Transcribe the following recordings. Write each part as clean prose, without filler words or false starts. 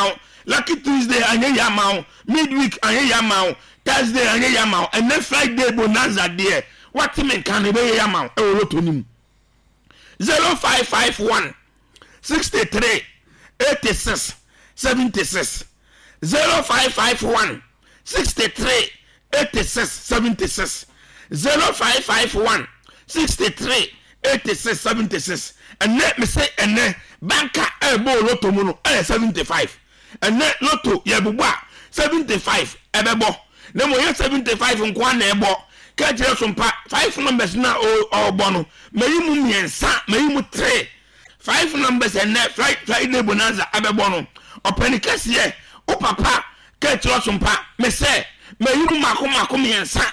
ama wo. Lucky Tuesday anyɛ yie ama wo. Midweek anyɛ yie ama wo. Thursday anyɛ yie ama wo. Ɛnɛ Friday bonanza deɛ wate me nka no ɛbɛyɛ yie ama wo ɛwɔ lotto no mu. 0551 63 86 76 0551 63 86 76 0551 63 86 76. Ɛnɛ mese ɛnɛ banka ɛbɔ lotto mu no ɛyɛ 75. Ɛnɛ lotto yɛbobɔ a, 75 ɛbɛbɔ, na mmom ɛyɛ 75 nko ara na ɛbɔ. Ka kyerɛ so mpa five numbers na ɔrebɔ no, mayi mu mmiɛnsa, mayi mu three. Five numbers ɛnɛ Friday bonanza ɛbɛbɔ no, ɔpɛni kɛseɛ wo papa. Ka kyerɛ so mpa me sɛ mayi mu mako mako mmiɛnsa.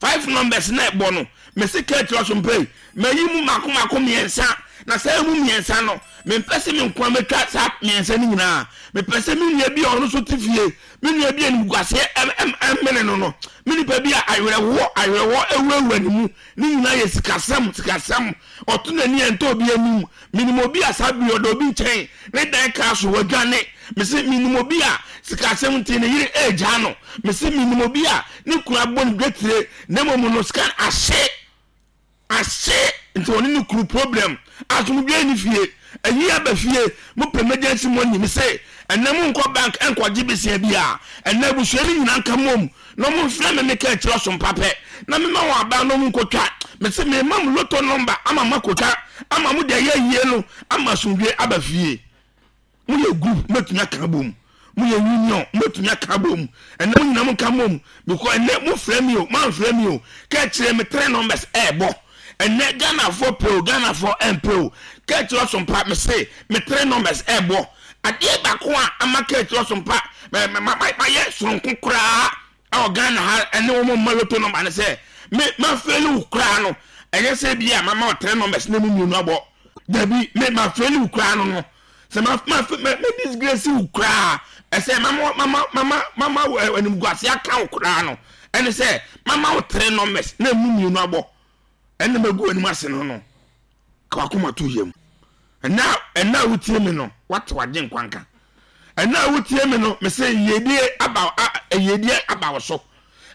Five numbers na ɛbɔ no, mese ka kyerɛ so mpa yi, mayi mu mako mako mmiɛnsa, na saa mu mmiɛnsa no, mempɛ sɛ me nkoa mɛtwa saa mmiɛnsa no nyinaa. Mepɛ sɛ me nua bi a ɔno nso te fie, me nua bi a animguaseɛ ɛmene no, me nipa bi a awerɛhoɔ awerɛhoɔ awurawura ne mu, ne nyinaa yɛ sikasɛm sikasɛm, ɔto n'ani a ɛntɔ obi anim. Menim obi a saa bere ɔda obi nkyɛn, ne dan kaa so, wadwane. Mese menim obi a sikasɛm nti ne yere ɛregyaa no. Mese menim obi a ne kunu abɔ ne dwetire, na mmom no sika no ahye ahye, nti ɔne ne kunu problem. Asomdwoe ne fie, ayi aba fie, mopɛ emergency money. Mese ɛnɛ monkɔ bank ɛnkɔgye besia bi a, ɛnɛ abusua no nyinaa nka mmom na ɔmo mfrɛ me, meka akyerɛ ɔsompa pɛ na mema wɔn aba na ɔmo nkotwa. Mese mema mo lotto number ama moakotwa ama mo de ayɛ ayie no ama asomdwoe aba fie. Moyɛ group, mobɛtumi aka abom. Moyɛ union, mobɛtumi aka abom. Ɛnɛ mo nyinaa monka mmom, because ɛnɛ mofrɛ me o, moamfrɛ me o, ka kyerɛ me three numbers ɛɛbɔ. Ɛnɛ Ghanafoɔ pɛ o, Ghanafoɔ ɛmpɛ o, ka kyerɛ ɔsompa mese me three numbers ɛɛbɔ. Adeɛ baako a ama ka kyerɛ ɔsompa mayɛ soronko koraa ɛwɔ Ghana ha ɛne wɔn mma lotto number ne sɛ me mafeli wo koraa no, ɛnyɛ sɛ bi a mama wo three numbers na mu mmienu abɔ. Dabi, me mafeli wo koraa no, sɛ ma ma ma ma disgrace wo koraa, ɛsɛ mama mama mama mama animguase aka wo koraa no, ɛne sɛ mama wo three numbers na emu mmienu abɔ, ɛna magu anim ase no, ka wakoma to yam. Ɛna ɛna a wotie me no, wate wagye nkwanka. Ɛna a wotie me no, mese yiedie aba, yiedie aba wo so.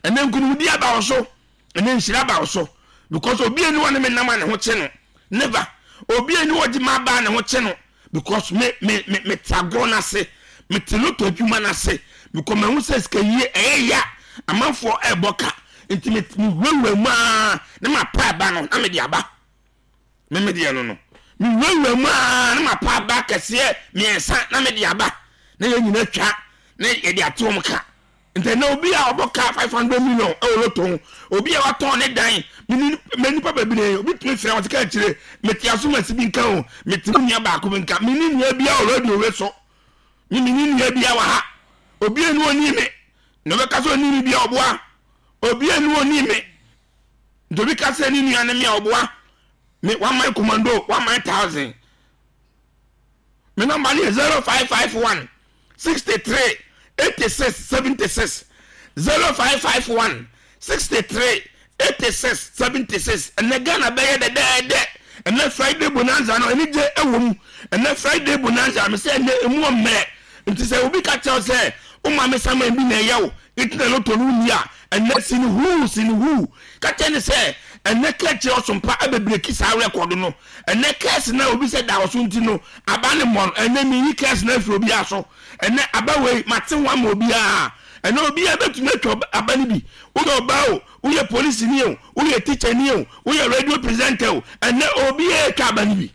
Ɛna nkunimdie aba wo so. Ɛna nhyira aba wo so, because obi ani wɔ ne me nam a ne ho kye no, never. Obi ani wɔ gye ma aba a ne ho kye no, because me me me me te agorɔ n'ase, me te lotto adwuma n'ase, because mahu sɛ sika yie ɛyɛ ya, amanfoɔ ɛɛbɔ ka, nti me me wurawura mu aa na ma pa aba no na me de aba. Me me deɛ no, me wurawura mu aa na ma pa aba kɛseɛ mmiɛnsa na me de aba, na yɛn nyinaa twa na yɛde ate wɔn ka. Nti na obi a ɔbɔ kaa 500 million ɛwɔ lotto ho, obi a watɔn ne dan, mene mɛ nipa bebree, obi tumi fira wɔn sika akyire. Mete asomasi bi nka o, mete mu nua baako bi nka, mene nua bi a wɔ radio we so, me mene nua bi a wɔ ha. Obi a ni oni me na ɔbɛka sɛ oni me bi a ɔboa. Obi a ni oni me nti obi ka sɛ ne nua ne me a ɔboa me. One man commando, one man thousand. Me number ne yɛ 0551 63 86 76, 0551 63 86 76. Ɛnɛ Ghana bɛyɛ dɛdɛɛdɛ. Ɛnɛ Friday bonanza no, ɛne gye ɛwɔ mu. Ɛnɛ Friday bonanza, me sɛ ɛnɛ emu ɔmmerɛ, nti sɛ obi ka kyerɛw sɛ wo maame saman bi na ɛyɛ wo nti na lotto no wonni a, ɛnɛ sini huu sini huu, ka kyerɛ ne sɛ ɛnɛ ka kyerɛ ɔsompa abɛbreak saa record no. Ɛnɛ curse na obi sɛ da ɔso nti no aba ne mmɔ no, ɛnɛ meyi curse na afiri obiara so. Ɛnɛ aba wei mate ho ama obiara. Ɛnɛ obiara bɛtumi atwa aba no bi. Woyɛ ɔbaa o, woyɛ polisini o, woyɛ teacher ni o, woyɛ radio presenter o, ɛnɛ obiara atwa aba no bi.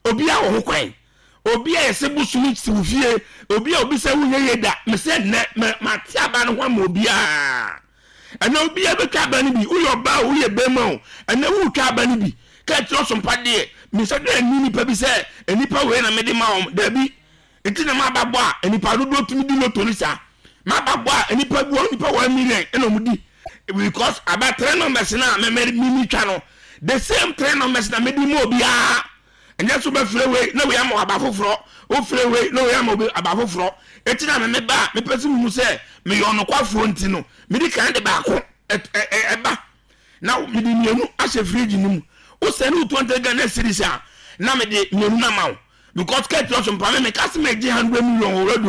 Obiara wɔ ho kwan. Obi a yɛsɛ bosom si wo fie, obi a obi sɛ wonyɛ yie da, mesɛ nnɛ mate aba no ho ama obiara. Ɛnɛ obiara bɛtwa aba no bi. Woyɛ ɔbaa o, woyɛ bɛrima o, ɛnɛ wotwa aba no bi. Ka kyerɛ ɔsompa deɛ mesɛ dɛ ni nipa bi sɛ nipa wei na mede ma wɔn, dabi. Nti na maba bɔ a nipa dodoɔ tumi di lotto no saa. Maba bɔ a nipa bi wɔ nipa 1 million ɛna ɔmo di, because aba three numbers na mɛ mɛ mi twa no, the same three numbers na mɛ di mu obiara. Ɛnyɛ so bɛfrɛ wei na wei ama aba foforɔ, wofrɛ wei na wei ama obi aba foforɔ. Eti na mɛ ba a mepɛ sɛ muhu sɛ meyɛ ɔnokwafoɔ nti no, mede kan de baako ɛba na mede mmienu ahyɛ fridge no mu. Wosɛ ne wo 20 Ghana cedis a, na mede mmienu no ama wo, because kɛtɛ ɔso mpa me meka sɛ megye 100 million wɔ radio.